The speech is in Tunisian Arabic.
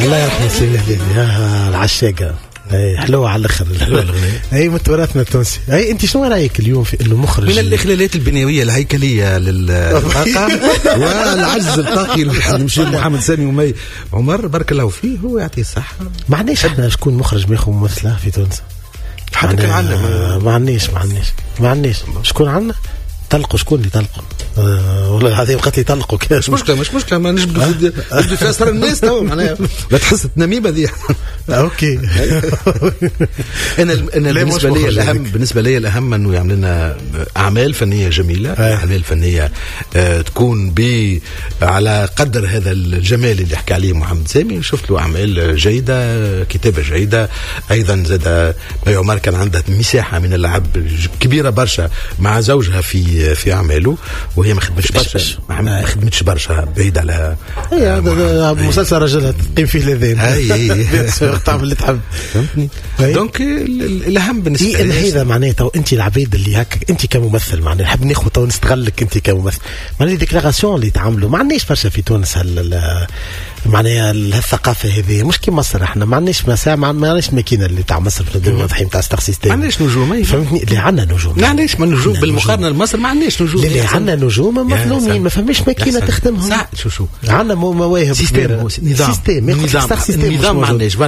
الله يرحمه سليم الهلالي، العشاقه، اي حلوة على الاخر. حلوة الاغنيه. اي، من تراثنا التونسي. اي، انت شنو رايك اليوم في انه مخرج من الاخلالات البنيويه الهيكلية للطاقة والعجز الطاقي نمشي محمد سامي ومي عمر، بارك الله فيه، هو يعطيه الصحه. ما عندناش احنا شكون مخرج ماخذ ممثلة في تونس. حتى كان عندنا. ما عندناش، ما عندناش، ما عندناش. شكون عندنا؟ طلقوا، شكون اللي طلقوا؟ والله العظيم قالت لي طلقوا. مش مشكله، مش مشكله، ما نجبدوا في اسرار الناس تو، معناها لا تحس النميمة دي. OK. انا بالنسبة لي الاهم، بالنسبة لي الاهم انه يعمل لنا اعمال فنية جميله، اعمال فنية تكون على قدر هذا الجمال اللي حكى عليه محمد سامي. شفت له اعمال جيده، كتابه جيدة ايضا. زاد مي عمر كان عندها مساحة من اللعب كبيرة برشا مع زوجها في اعماله، وهي ما خدمتش برشا، ما خدمتش برشا، بعيد على هي مسلسل رجلها تقيم فيه الاذان. اي. تعمل اللي تحب. فهمتني؟ donc الاهم بالنسبة لي هذا معناها تو انت العبيد اللي هكا، انت كممثل معناها نحب ناخذ تو نستغلك انت كممثل، معناها déclarations اللي تعملوا، ما عندناش برشا في تونس معناها الثقافة هذه، مش كي مصر. احنا ما عندناش مساحه، ما عندناش الماكينة اللي تاع مصر واضحين تاع star system. ما عندناش نجوم. فهمتني؟ اللي عندنا نجوم. ما عندناش ما نجوم بالمقارنة لمصر، ما عندناش نجوم. اللي عندنا نجوم مظلومين، ما فماش ماكينة تخدمهم. شو شو عندنا مواهب. système، نظام. système. نظام، نظام ما عندناش.